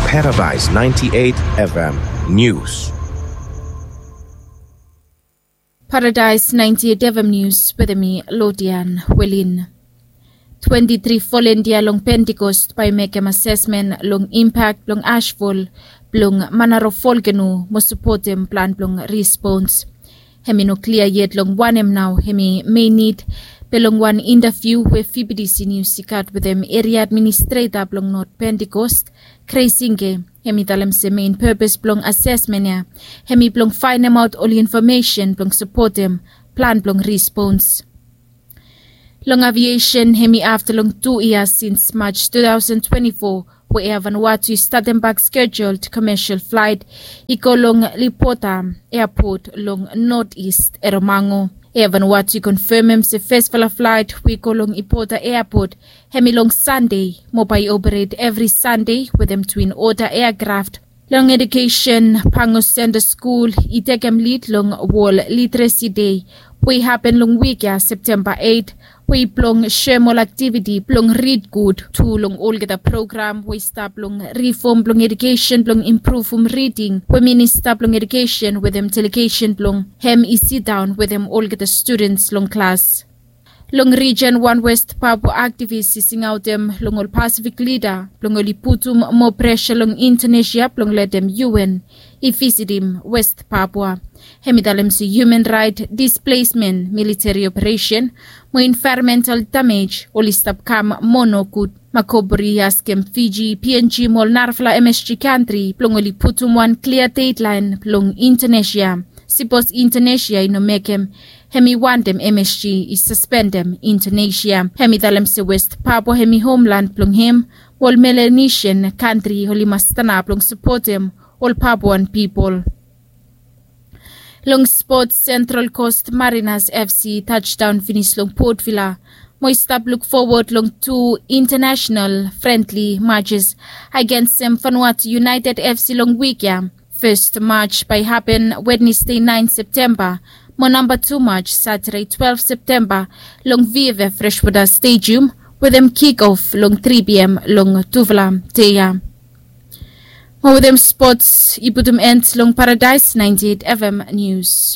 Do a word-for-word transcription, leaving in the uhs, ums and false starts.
Paradise ninety-eight F M News. Paradise ninety-eight F M News wetem mi, Lodian Welin. Twenti tri volunteer long Pentecost bae mekem asesmen long impak blong ashfall blong Manaro volkeno mo sapotem plan blong respons. Hem i no klia yet long wanem nao hem i mein nid, be long wan interview we V B T C News i gat wetem eria administreta blong North Pentecost, Kreisinge, hem i talem se mein purpose blong asesmen ya hem i blong faenemaot ol infomesen blong sapotem plan blong respons. Long aviesen hem i afta long tu yia sins March two thousand twenty-four we Air Vanuatu i statem bak scheduled commercial flight i go long Lipota Airport long North East Eromango. Air Vanuatu i konfemem se fesfala flight we i go long Ipota Airport hem i long Sande mo bae i operate evri Sande wetem twin oda aircraft. Long edukesen, Pango Center Skul i tekem lid long World Literacy Day we i hapen long wik ya, Septemba eight, we i blong serem ol aktiviti blong rid gud tu long olgeta program we i stap long rifom blong edukesen blong impruvum riding we minista blong edukesen wetem delegesen blong hem i sidaon wetem olgeta studens long klas. Long rijen, wan West Papua aktivis i singaotem long ol Pasifik lida blong oli putum moa presa long Indonesia blong letem U N i visitim West Papua. Hem i talem se human right displacement, military operation mo environmental damage oli stap kam moa nogud. Makoburi i askem Fiji, P N G mo ol narafala M S G kantri blong oli putum wan klia dedlaen long Indonesia. Sipos Indonesia i no mekem, hem i wantem M S G i saspendem Indonesia. Hem i talem se West Papua hem i homlan blong hem, mo ol Melanesian kantri oli mas stanap blong sapotem ol Papuan pipol. Long spot, Central Coast Mariners F C i tajdaon finis long Port Vila mo i stap luk fowod long tu international friendly matches agensem Vanuatu United F C long wik ya. Fes maj bae i hapen Wednesde naen Septemba mo namba tu maj Satade twelve Septemba long V F F Freshwater Stadium wetem kick off long tri P M long tufala dei ya. Mo wetem spots i putum end long Paradise ninety-eight F M News.